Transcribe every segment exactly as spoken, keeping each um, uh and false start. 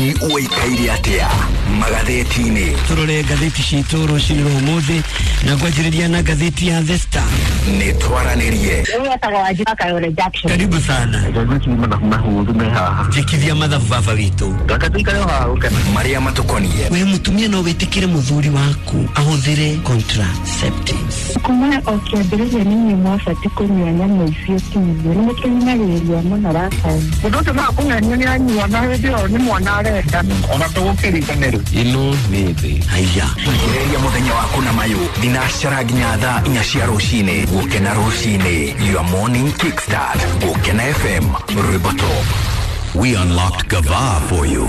Bũrũri ũikaire atĩa magathĩti-inĩ? Turore ngathĩti citũ rũcinĩ rwa ũmũthĩ na ngwanjĩrĩria na ngathĩti ya The Star. Nĩ twaranĩrie. Karibu sana. Njĩkithia mathabu baba witũ. Marĩa matũkoniĩ. We mũtumia no wĩtĩkĩre mũthuri waku ahũthĩre contraceptives? Kuma o kĩambĩrĩria nĩ inyuĩ mwabatiĩ kũnyua nyamũ icio kinyua nĩ mũkĩnyagĩrĩria mũno Rafael. Mũndũ ũcio no akũng'ania nĩ anyua na hĩndĩ ĩyo nĩ mwana arenda. Ona tũgũkĩriganĩrwo. Ĩno nĩ thĩ. Haiya. Ambĩrĩria mũthenya waku na mayũ thinacara nginya thaa inya cia rũcinĩ. Gũkena rũcinĩ, your morning kickstart. Gũkena F M, rwĩmbo top. We unlocked Gava for you.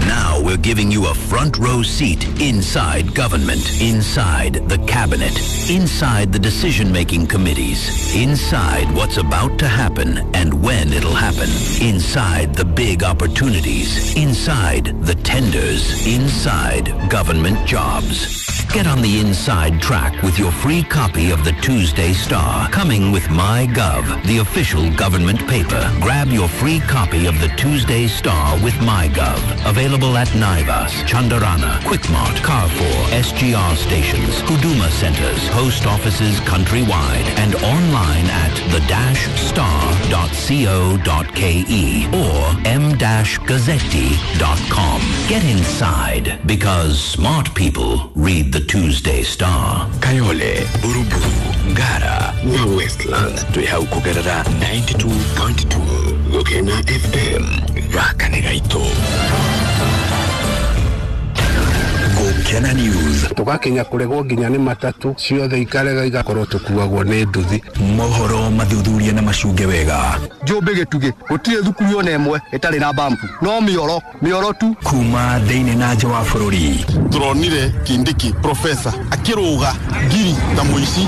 Now we're giving you a front row seat inside government, inside the cabinet, inside the decision-making committees, inside what's about to happen and when it'll happen, inside the big opportunities, inside the tenders, inside government jobs. Get on the inside track with your free copy of the Tuesday Star, coming with MyGov, the official government paper. Grab your free copy of the Tuesday Star with MyGov. Available at Naivas, Chandarana, Quickmart, Carrefour, S G R stations, Huduma centers, post offices countrywide, and online at the dash star dot co dot ke or m dash gazzetti dot com. Get inside, because smart people read the Tuesday Star. Kayole, Buruburu, Ngara na Westlands twĩ hau kũgerera ninety-two point two Gũkena F M. Gaka nĩ gaitũ. Gũkena News. Tũgakinya kũregwo nginya nĩ matatu ciothe ikarega igakorwo tũkuagwo nĩ nduthi. Mohoro mathuthuria na macunge wega. Njũmbĩ gĩtugĩ gũtirĩ thukuru ona ĩmwe ĩtarĩ na bambu, no mĩoro mĩoro tu. Kuma thĩinĩ na nja wa bũrũri. Tũronire Kindiki profesa akĩrũga ngiri ta mũici.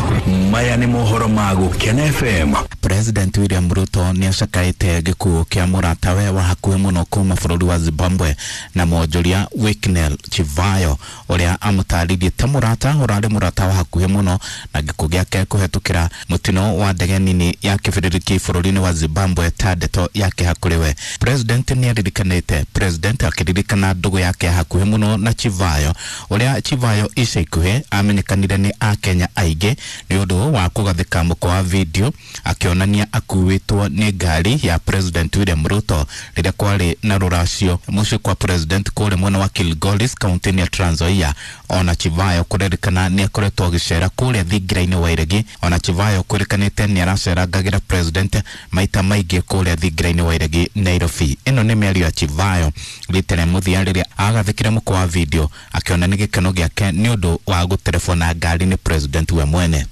Maya nĩ mohoro ma Gũkena F M. President William Ruto nĩ acakaĩte gĩkuũ kĩa mũratawe wa hakuhĩ mũno kuma bũrũri wa Zimbabwe na mwonjoria Wicknell Chivayo ũrĩa amũtarĩirie ta mũrata ũrarĩ mũrata wa hakuhĩ mũno na gĩkuũ gĩake kũhetũkĩra mũtino wa ndege nini ya kĩbĩrĩrĩki bũrũri-inĩ wa Zimbabwe ta ndeto yake hakũrĩ we. President nĩ aririkanĩte President akĩririkana ndũgũ yake ya hakuhĩ mũno na Chivayo ũrĩa Chivayo ica ikuhĩ amenyekanire nĩ Akenya aingĩ nĩ ũndũ wa kũgathĩka mũkwa wa video akĩonania akuĩtwo nĩ ngari ya President William Ruto rĩrĩa kwarĩ na rũracio mũciĩ kwa President kũrĩa mwena wa Kilgoris kaunti-inĩ ya Trans Nzoia. Ona Chivayo kũrerĩkana nĩ akoretwo agĩcera kũrĩa thingira-inĩ wa Iregi. Ona Chivayo kwĩrĩkanĩte nĩ aracerangagĩra President maita maingĩ kũrĩa thingira-inĩ wa Iregi Nairobi. Ĩno nĩ mĩario ya Chivayo rita rĩa mũthia rĩrĩa agathĩkire mũkwa wa video akĩonania gĩkeno gĩake nĩ ũndũ wa gũterebwo ngari nĩ President we mwene.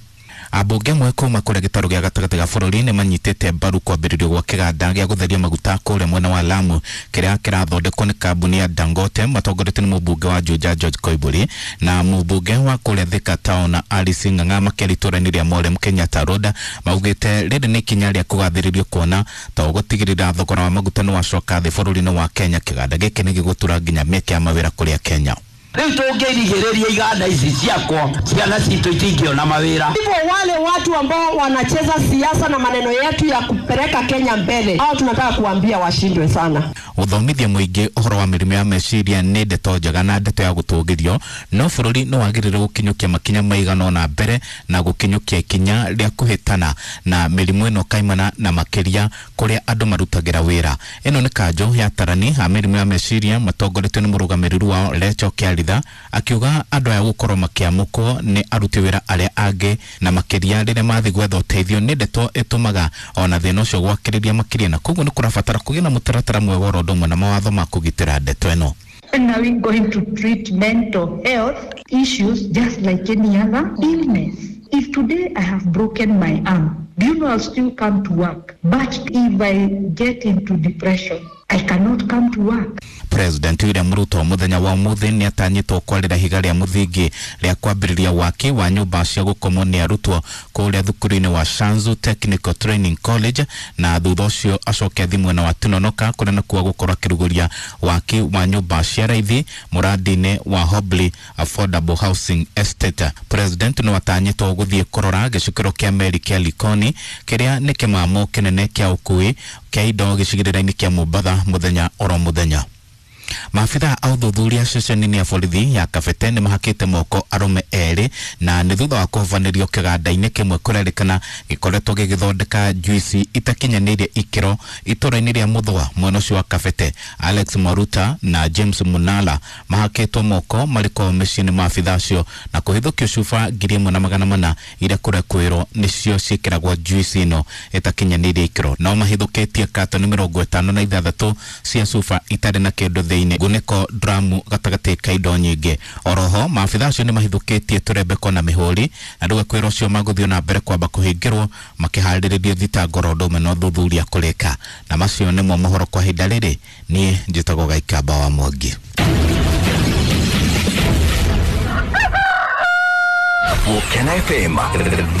Ambunge amwe kuma kũrĩa gĩtarũ gĩa gatagatĩ ga bũrũri nĩ manyitĩte mbaru kwambĩrĩrio gwa kĩganda gĩa gũtheria maguta kũrĩa mwena wa Lamu kĩrĩa kĩrathondekwo nĩ kambuni ya Dangote matongoretio nĩ mũmbunge wa Juja George Koimburi na mũmbunge wa kũrĩa Thika Town Alice Ng'ang'a makĩaria itũũra-inĩ rĩa Mowlem Kenyatta Road maugĩte rĩrĩ nĩ ikinya rĩa kũgathĩrĩrio kuona ta ũgũtigĩrĩra thogora wa maguta nĩ wacoka thĩ bũrũri-inĩ wa Kenya. Kĩganda gĩkĩ nĩ gĩgũtura nginya mĩeke ya mawĩra kũrĩa Kenya. Rĩu tũngĩrigĩrĩria iganda ici ciakwa ciana citũ itingĩona mawĩra. Hivyo wale watu ambao wanacheza siasa na maneno yetu ya kupeleka Kenya mbele, hao tunataka kuambia washindwe sana. Ũthomithia mũingĩ ũhoro wa mĩrimũ ya meciria nĩ ndeto njega na ndeto ya gũtũgĩrio, no bũrũri nĩ wagĩrĩire gũkinyũkia makinya maigana ũna mbere na gũkinyũkia ikinya rĩa kũhĩtana na mĩrimũ ĩno kaimana na makĩria kũrĩa andũ marutagĩra wĩra. Ĩno nĩ kanjũ ya atarani a mĩrimũ ya meciria matongoretio nĩ mũrũgamĩrĩri wao Lecho Kĩaritha akiuga andũ aya gũkorwo makĩamũkwo nĩ aruti wĩra arĩa angĩ na makĩria rĩrĩa mathiĩ gwetha ũteithio nĩ ndeto ĩtũmaga ona thĩna ũcio gwakĩrĩria makĩria, na koguo nĩ kũrabatara kũgĩa na mũtaratara mwega oro ũndũ ũmwe na mawatho ma kũgitĩra ndeto ĩno. When are we going to treat mental health issues just like any other illness? If today I have broken my arm, do you know I'll still come to work? But if I get into depression, I cannot come to work. President William Ruto muthenya wa umuthi ni atanyitwo kwarira ihiga ria muthingi ria kwambiriria waki wa nyumba cia gukomwo ni arutwo kuria thukuru-ini wa Shanzu Technical Training College, na thutha ucio acoke athi mwena wa Tononoka kuria nakuo gukorwo akiruguria waki wa nyumba cia raithi muradi-ini wa Hobley Affordable Housing Estate. President no atanyitwo guthie kurora gicukiro kia meri kia Likoni kiria ni kimamo kinene kia ukui kia indo gicigirira-ini kia Mombatha muthenya oro muthenya. Maabitha a ũthuthuria ceceni-inĩ ya borithi ya Kabete nĩ mahakĩte moko arũme erĩ na nĩ thutha wa kũhovanĩrio kĩganda-inĩ kĩmwe kũrerĩkana gĩkoretwo gĩgĩthondeka juici itakinyanĩirie ikĩro itũra-inĩ rĩa Muthũa mwena ũcio wa Kabete. Alex Maruta na James Munala mahakĩtwo moko marĩ kwao mĩciĩ nĩ maabitha acio na kũhithũkio cuba ngiri ĩmwe na magana mana iria kũrekwĩrwo nĩcio ciĩkĩragwo juici ĩno ĩtakinyanĩirie ikĩro. No mahithũkĩtie katoni mĩrongo ĩtano na ithathatũ cia cuba itarĩ na kĩndũ thĩinĩ, ngunĩko, dramu gatagatĩ ka indo nyingĩ. Oroho maabitha acio nĩ mahithũkĩtie tũrembeko na mĩhũri na rĩu ekwĩrwo ũcio magũthiĩ na mbere kwamba kũhingĩrwo makĩharĩrĩrio thitango ro ũndũ ũmwe na ũthuthuria kũrĩka. Na macio nĩmo mohoro kwa ihinda rĩrĩ. Niĩ njĩtagwo Gaikamba wa Mwangi. Gũkena F M.